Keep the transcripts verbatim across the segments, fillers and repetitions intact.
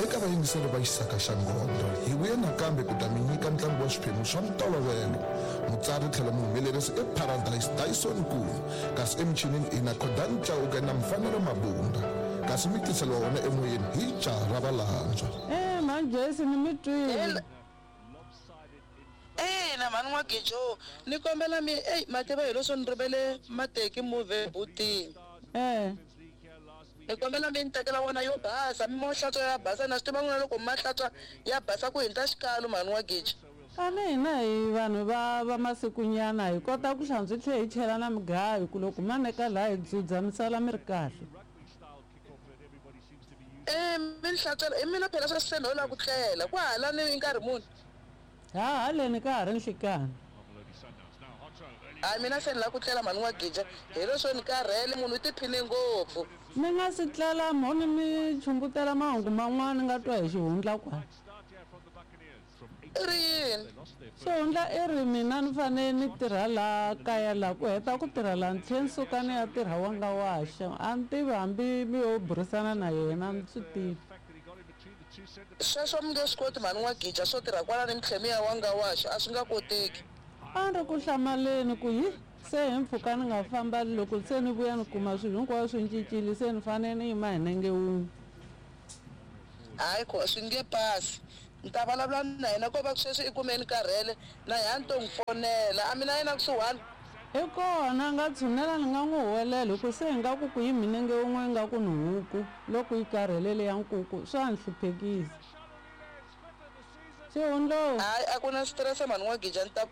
Eka vayingiseri va Xisaka xa Ngondho, hi vuye nakambe ku ta mi nyika ntlangu wa swiphemu swa ntolovelo. Mutsari tlhelo muhumelerisi i Paradise Dyson Nkuna, kasi emichinini i na Khodani Chauke na Mfanelo Mabunda, kasi mi tiseliwa wona emoyeni hi jaha ra Valandzwa. Eh, mhani Joyce ni mi twile. Ina mhani N'wagijo, ni kombela mi eyi ma tiva hi leswo ni rivele mateki movhe butini. Eh. Ni kombela mi ni tekela wona yo basa, mi mo hlantswa ya basa na swi tiva n'wina loko mi ma hlantswa ya basa ku hundza xikalo mhani N'wagijo. Kani hina hi vanhu va va masikunyana hi kota ku hlantswa hi tlhela hi chela na mugayo ku loko ma neka laha hi dzudza mi sala mi ri kahle. Eh mi ni hlantswela hi mina phela sweswi se no lava ku tlela ku hala ni nkarhi muni. Ha haleni ka ha ri nhlikani. Hayi mina se ni lava ku tlela mhani N'wagija hi leswo ni karhele munhu u tiphine ngopfu. Mi nga si tlela mo ni mi chumbutela mahungu man'wana ni nga twa hi xihundla kwala. I ri yini? Xihundla i ri mina ni fanele ni tirha laha kaya laha ku heta ku tirha laha ni tlhela ni suka ni ya tirha wanga waxa a ni tivi hambi mi yo burisana na yena a ni swi tivi. Sweswo mi nge swi koti mhani N'wagija swo tirha kwala ni mi tlhela mi ya wanga waxa a swi nga koteki. A ni ri ku hlamaleni ku hi se hi mpfhuka ni nga famba loko se ni vuya ni kuma swilo hinkwaswo swi cincile se ni fanele ni yima hi nenge wun'we. Hayi ko swi nge pasi. Ni ta vulavula na yena ko va ku sweswi i kume ni karhele na yena a ni to n'wi fonela a mina yena kusuhani. I kona a nga tshunela ni nga n'wi huwelela hi ku se hi nga ku ku yi minenge wun'we nga ku ni huku loko yi karhele leya nkuku swa ni hluphekisa. Xihundlo. Hayi a ku na stress mhani N'wagija ni ta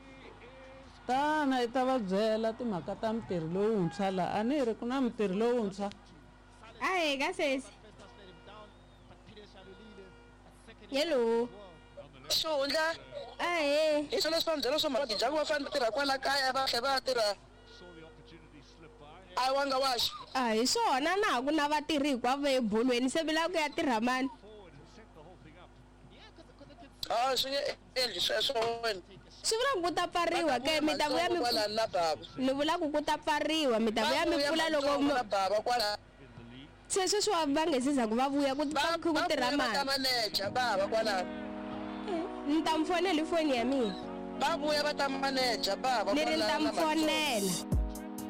tana i ta va byela timhaka ta mutirhi lowuntshwa laha a ni ri ku na mutirhi lowuntshwa. Ahee ka sesi. Hello. Xihundla. Ahee. Hi swona leswi va mi byela swo N'wagija ku va fanele tirha kwala kaya va tlhela va tirha a wanga waxa. A hi swona na ha ku na vatirhi hinkwavo ebolweni se mi lava ku ya tirha mani. A swi nge endli sweswo wena. Swi vula ku ku ta pfariwa ke mi ta vuya mi kwala na baba. Ni vula ku ku ta pfariwa mi ta vuya mi pfula loko na baba kwala. Se sweswi va va nge se za ku va vuya ku Va ku va tirha vuya va ta mani. maneja baba kwala. Ni ta mi fonela hi foni ya mina. Va vuya va ta maneja baba Ni ri ni kwala ta na mi fonela.